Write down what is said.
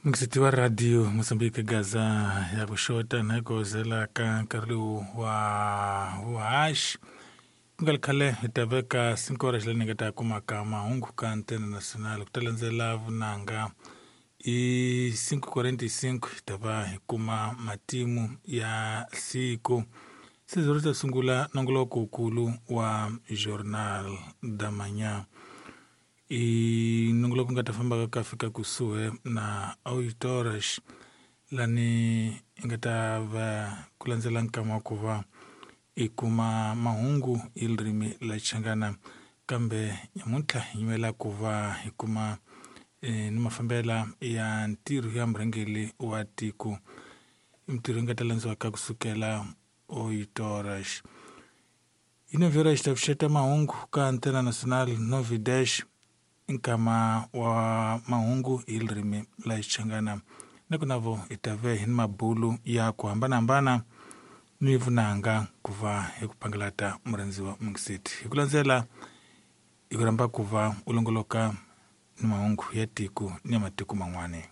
Mukisiti wa radio Mozambique Gaza ya ku xota na ku zela ka nkarhi lowu wa vuhaxi ku nga ri khale hi ta veka 5 horas leyi ni nga ta kumaka mahungu ka Antena Nacional ku ta landzela vunanga i 5:45 hi ta va hi kuma matimu ya siku sizoro ta sungula nongoloko-nkulu wa Jornal da Manhã i nongoloko nga ta fambaka ka fika kusuhi na auditores lani i nga ta va ku landzela nkama wa ku va i kuma mahungu hi ririmi la Xichangana kambe nyamuntlha hi nyimela ku va hi kuma ni mafambela ya ntirho ya murhangeri wa tiko i mintirho yi nga ta landziwaka kusukela auditores i novela xi ta pfuxeta mahungu ka Antena Nacional Novi Dash nkama wa mahungu hi ririmi la Xichangana na ku navo hi ta ve hi ni mabulu ya ku hambanahambana ni vunanga ku va hi ku pangalata murhandziwa Mungiseti hi ku landzela hi ku rhamba ku va u longoloka ni mahungu ya tiko ni ya matiko man'wani.